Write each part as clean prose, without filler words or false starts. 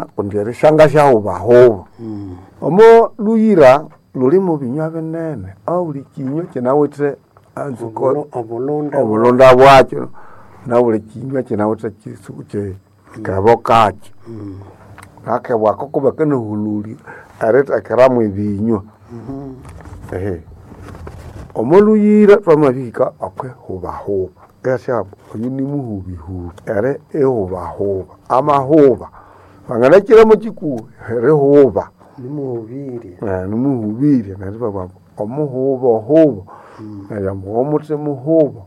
Kundi erishanga syahubahuba. Omo luyira luli mu binywa binene, obuli kinywa kinawithe anzuko Obulunda. Obulunda bwakyo nabuli kinywa kinawithe kebo kakyo. Akebo ako kubakanahululya erithekeramu ebinywa. Ehe. Omo luyira twamabihika okwihubahuba, ihasyamba oyu nimuhubihubi, eri ihubahuba, amahuba wanganakiramo kikuhi erihuba. Nimuhubirye. Nimuhubirye neryo ibabugha ambu omuhuba ohuba neryo ambu omuthi muhuba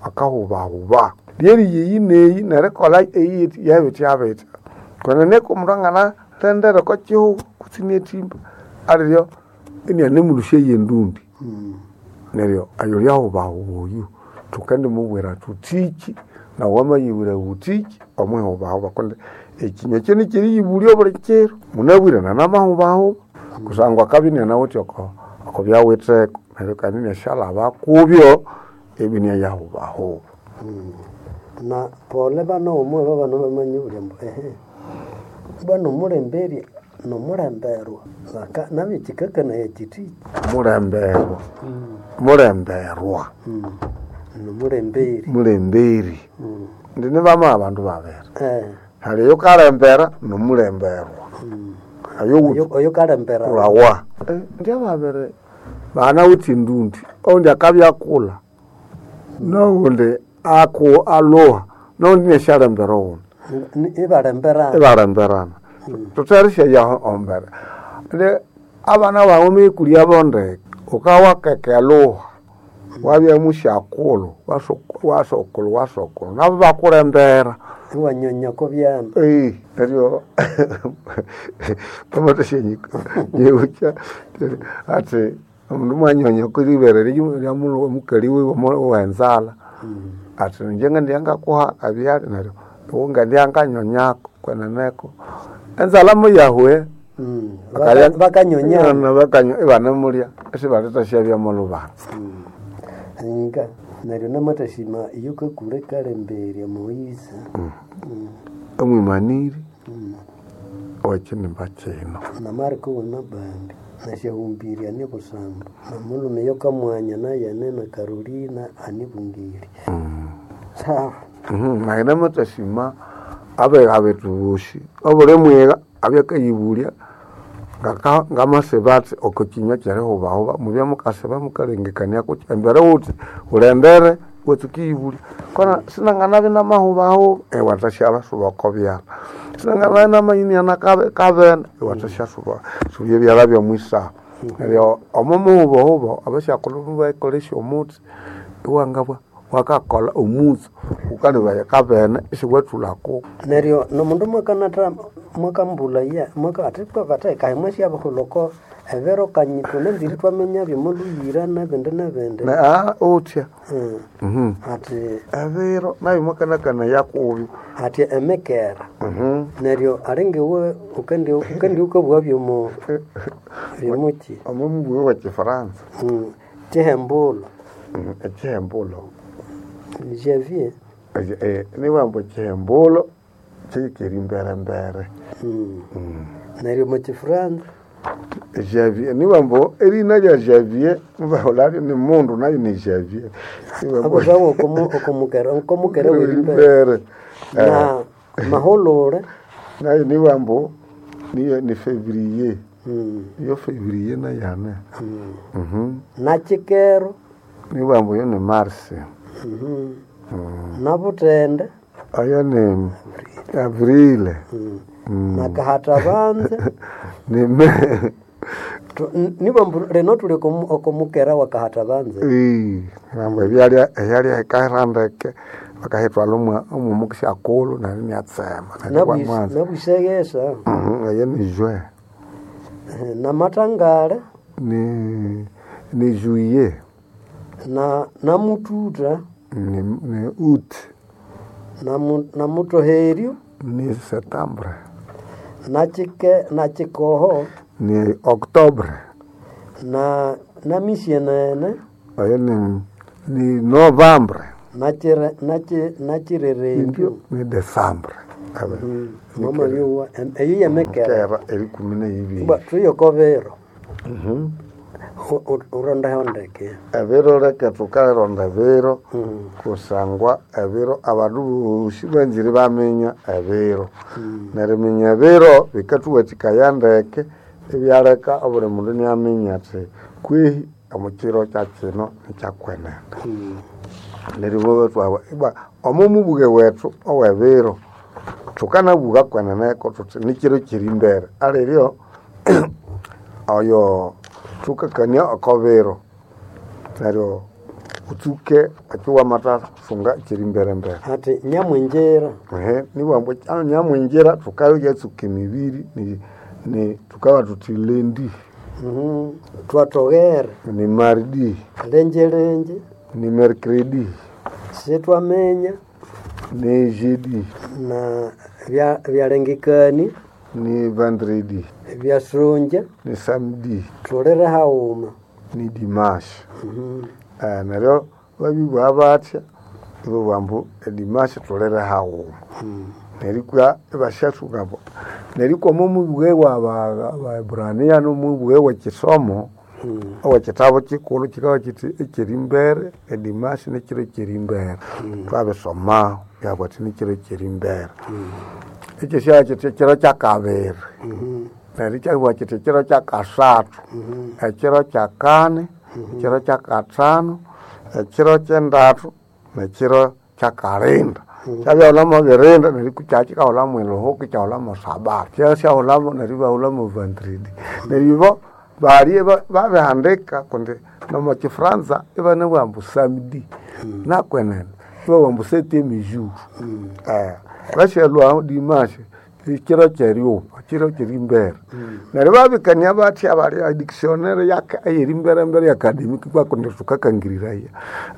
akahubahuba. Lyeriya eyi neyi nerikolha eyi yabitya bitya kwenene omundu anganalendera oko kihugho kutse inyathimba aliryo inianemulhusya yendundi. Neryo oyuli ahubahuba oyu thukendimubwira thuthiki nawu wamayibwira wuthiki omwihubahuba kundi ekinywa ekyo nikyeriyibulya obuli kiro. Munabwire nanamahubahuba kusangwa akabya inianawithe oko okobyawitheko neryo kandi iniasyalhaba kubyo ibya iniayahubahuba. Na pole bana omwe babana bamanyibulya ambu ehe bwana omulemberya nomulemberwa nabyo kikakanaya kyithi. Mulemberwa, mulemberwa. Nomulemberi. Mulemberi. Indi nibama abandu babiri. Hali oyukalembera nomulemberwa. Oyo Oyo kalembera. Kulawa. Indi ababiri banawithe endundi, owundi akabya akulha nowundi alhuha nowundi iniasyalembera owundi. Ibalemberana. Ibalemberana. Thutherisyeya embere. Indi abana baghu wamayikulhyabo ndeke, wukawakeka elhuha, wabya musyakulhu, wasokulhu wasokulhu nabo ibakulembera. Iwanyonya oko byanda. Neryo pamathasyanyiwukya athi omundu mwanyonya okwiribere lyamukali wiwe owenzalha athi ingye ngendibya ngakuha ebyalya neryo iwe ngendibya nganyonyako kweneneko enzalha muyahwe. Bakanyonyana. Ibanemulya isibalithasyabyamo olhubanza. Nga neryo namathasima iyo kakule kalemberya Moise. Omwimaniri owekinimba kino. Na Mariko wamabambi nasyahumbirye ani busamba namulhume yokamwanya nayene na Carolina anibungire. Sawa. Nayi namathasima abegha bethu bosi obuli mwigha abya akayibulya ngamasiba athi oko kinywa kyerihubahuba mubye mukasiba mukalengekania kuki embere wuthi wulembere iwatsuka eriyibulya kona sinanganabya namahubahuba iwathasyasuba oko byalha sinanganabya namanyiniana kabene iwathasyasuba subya ebyalha byomwisaha. Neryo omo muhubahuba abasyakulhu mubakolesya omuthi iwangabya wakakolha omutsu wukalebaya kabene isiwathulhaku. Neryo nomundu mwakanatha mwakambulaya athi bathekaye mwasyabiholha oko ebiro kanyi thunanzire ithwaminyabyo omo lhuyira nebindi nebindi. Uthya. Athi Ebiro nabyo mwakanakanaya kubyo. Athi emikera. Neryo alingiwe wukendi wukabugha byomo byomuki? Omo mubughe we kifaransa. Kyihembulo. Ekyihembulo. Javier. Nibughambu ekyihembulo kyihikere emberembere. Neryo omo kifaransa? Javier nibughambu erina lya Javier mubahulhabyo nimundu nayu ni Javier. Abusawa okomukera okomukera werimbere. Na mahulule. Nayu nibughambu niyo ni Fevrier. Iyo Fevrier nayu hane. Nakyikero. Nibughambu iyo ni Mars. Nabuthende. Oyo ni Avril. Nakahathabanze. Ni May. Nibughambu lino thuli okomukera wakahathabanze. Nibughambu ebyalya ehyalya hikahira ndeke bakahithwalha omwo syakulhu neryo inyatsema neryo iwamwanza. Nabwiseghesa. Eyo ni Juin. Namathangale. Ni Juillet. Namuthutha. Ni Août. Namuthoheryo. Ni Septembre. Nakyikoho. Ni Octobre. Namisyenene. Oyo ni Novembre. Nakirerembyo Ni Desambre. Mwamabyowa eyo yemekera. Kera erikumi n'eibiri. Ba tuyoko biro. Urondeho ndeke. Ebiro leke tukaronda ebiro kusangwa ebiro abandu bosi banzire baminya ebiro. Neriminya ebiro bikathuwathikaya ndeke ibyaleka obuli mundu inaminya athi kwihi omukiro kyakino nikyakwenene. Neryo ibwa ibwa omo mubuge wethu owebiro thukanabuga kweneneko thuthi nikiro kyerimbere aliryo oyo thukakania oko biro neryo utsuke akiwamathasunga ekyerimbere-mbere. Ati nyamwingira. Ehe nibwambu nyamwingira thukayatsuka emibiri ni thukabugha thuthi lundi. Twatoghere. Ni mardi. Lenjelenje. Ni mercredi. Sitwamenya. Ni jeudi. Na byalengekania. Ni vendredi. Byasonja. Ni samedi. Thulire haghuma. Ni dimanche. Neryo babibugha bathya ibabugha ambu edimanche thulire haghuma. Nerikwa ibasyathunga ambu nerikwa omo mubughe wabaebrania nomubughe wekisomo owekitabu kikulhu kikabugha kithi ekyerimbere edimanche nikiro ekyerimbere. Thwabisoma byabugha athi nikiro ekyerimbere. Ekyosi kithi ekiro kyakabiri neryo ikyabugha kithi ekiro kyakasathu, ekiro kyakani, ekiro kyakathanu, ekiro kyendathu, nekiro kyakalinda. Kyabyahulhamu birinda neryo kyakikahulhamu eluhuka ikyahulhamu sabato. Kyasyahulhamu neryo ibahulhamu vendredi. Neryo ibo balye babihandika kundi nomo kifranza ibanabugha ambu samedi nakwenene ibabugha ambu septième jour. Basyalhwa dimanche ekiro kyeryuba ekiro kyerimbere. Neryo babikania bathya balya edictionary eyerimbere academic kundi thukakangiriraya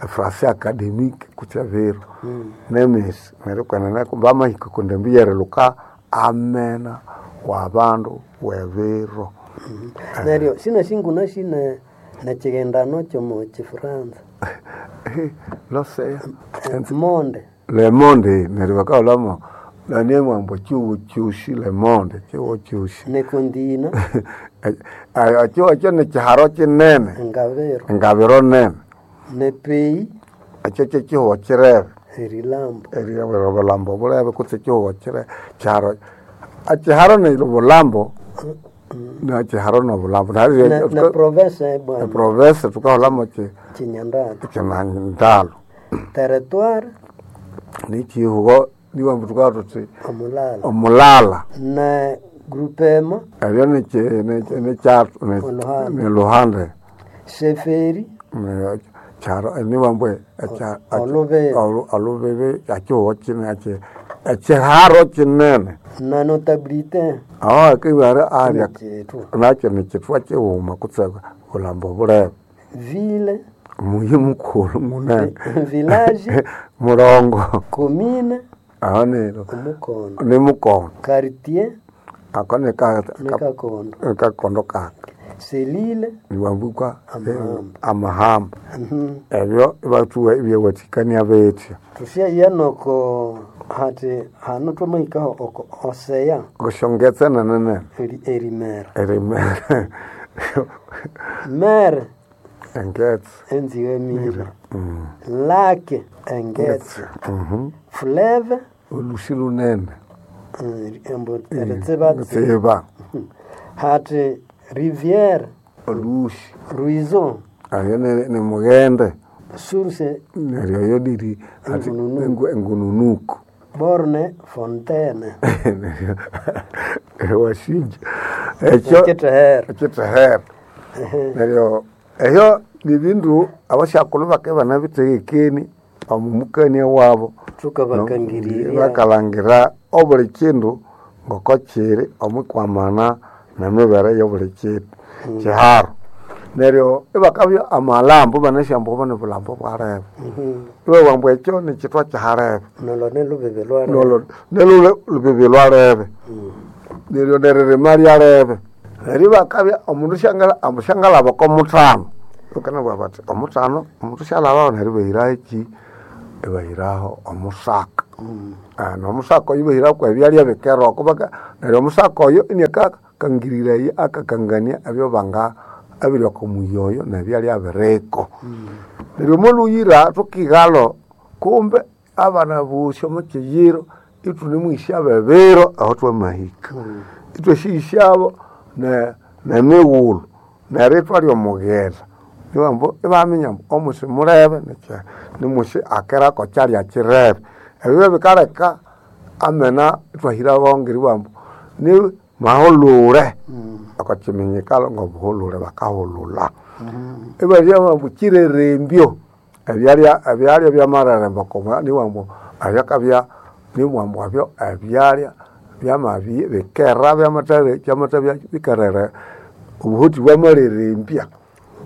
efrançais academic kutse ebiro nemisi neryo kwenene bamahika kundi embi yerilhuka amena wabandu webiro. Neryo sinasinguna sine nekighendano kyomo kifuranza. Losea. Monde. Le monde neryo bakahulhamu naniambu ambu kyihugho kyosi le monde kyihugho kyosi. Nekondina. Ekyo ekyo nikiharo kinene. Engabiro. Engabiro nene. Nepeyi. Ekyo kyekyihugho kirebe. Erilambo. Obulambo bulebe kutse ekyihugho kirebe kiharo ekiharo nobulambo nekiharo nobulambo. Ne province bwana. Eprovince thukahulhamu Kinyandalo. Kinyandalo. Territoire. Nikyihugho nibwambu thukabugha thuthi Omulala. Omulala. Ne groupement. Ebyo nikyathu niluhande. Chefferie. Kyaro nibwambu Olubebe. Olubebe ekyihugho kinene ekyiharo kinene. Na notabilité. Aho hakibara alya Nikyithwa. nakyo nikyithwa kighuma kutse bulambo bulebe. Ville. Muyi mukulhu munene. Village. Mulongo. Commune. Aho neryo Omukondo. nimukondo. Quartier. Ako Nikakondo. nikakondo kaka. Selile. Nibwambu Amahamba. amahamba. Ebyo ibathuha ibyawathikania bithya. Thusyaya noko hati hanu twamahikaho oko oseya. Kusyongetse nene nene. Erimera. Erimera. Mere. Engetse. Enziwe mira. Lake engetse. Fleuve. Olusi lunene. Embu eritsiba. Tsiba. Hati rivière. Olusi. Ruisseau. Ayo ni mughende. Source. Neryo eyo liri engununuku. Borne fontaine. Neryo wasinja. Ekyo Ekithehero. Ekithehero. Neryo ebyo nibindu abasyakulhu bakabya ibanabithegekenie omu mukania wabo. Thukabakangirirya. Bakalhangira obuli kindu ngoko kiri omwikwamana nemibere eyobuli kindu kiharo. Neryo ibakabya amalambo ibanasi ambu obu nibulambo bwalebe. Ibabugha ambu ekyo nikyithwa kyahalebe. Nolo nilhubibi lwalebe. Nolo nilhubibi lwalebe. Neryo neririma lyalebe. Neryo ibakabya omundu ambu syangalhaba oko muthano, bakanabugha bathi omuthano omundu syalhabaho neryo ibahiraho eki Ibahiraho omusaka. N'omusaka oyo ibahirako ebyalya bikeroko neryo omusaka oyo iniakakangiriraye akakangania ebyobanga ebiri oko muyi oyo nebyalya biriko. Neryo omolhuyira thukighalo kumbe abana bosi omo kiyiro ithunemwisyabo ebiro aho thwamahika. Ithwasyahisyabo nemighulhu neryo ithwalya omughisa. Ibabughambu ibaminya ambu omusi mulebe nimusi akirako kyalya kirebe. Ebyo byabikaleka amena ithwahiraho ngeribugha ambu ni mahulhure oko kiminyikalo ngobuhulhure bakahulhulha. Ibabya ambu kirerembyo ebyalya ebyalya byamareremba nibugha ambu ebyakabya nibugha ambu ebyo ebyalya byamabya bikera byamathabya bikerere obuhuthi bwamarerembya.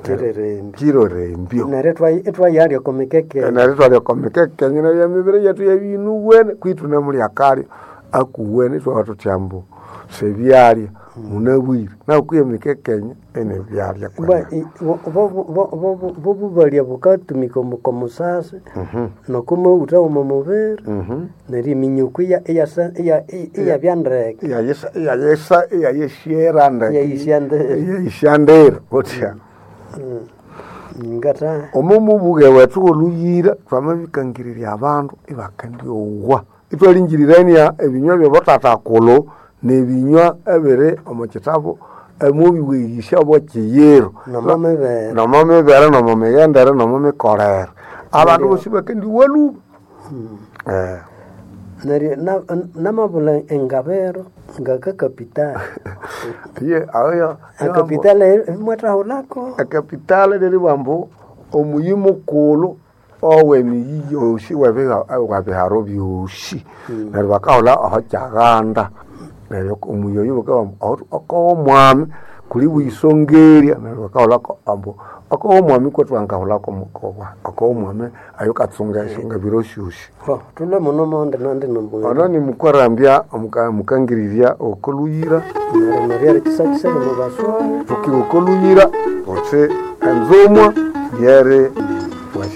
Kirerembyo. Kirerembyo. Neryo ithwayalya oko mikeke. Neryo ithwalya oko mikeke neryo emibiri yethu iyabya inuwene kwihi ithunemulya akalya akuwene ithwabugha thuthi ambu sibyalya munabwire naku kwihi emikekenya inibyalya Bwa bobubalya bukatumika oko musasi noko maghutha womo mubiri neryo eminyuku iyabya ndeke. Iyayisyera ndeke. Iyayisya ndeke. Iyayisya ndere wuthya. Ngata Omo mubuge wethu wolhuyira thwamabikangirirya abandu ibakendyowa. Ithwalingirirania ebinywa byabathathakulhu nebinywa ebiri omo kitabu omwabiweghesya bwekiyiro. Nomo mibere. Nomo mibere nomo mighendere nomo mikolere. Abandu bosi bakendiowa lhuba. Neryo namabulha engabiro ngakakapitali. Iye ayo Ekapitali imwathaghulhako. Ekapitali lyeribugha ambu omuyi mukulhu owemiyi yosi webiharo byosi. Neryo bakahulha aho kyaghanda. Neryo omuyi oyo bakabugha ambu okowomwami kuli buyisongerya neryo bakahulha ambu okowomwami kwethu wangahulhako okowomwami ayukatsunga esyongabiro syosi. Thulhwe muno mondi nandi Ono nimukwarambya mukangirirya okolhuyira. Neryo neryo erikisakisaya omo baswayi. Thukiwa okolhuyira thuthi enzumwa yeri.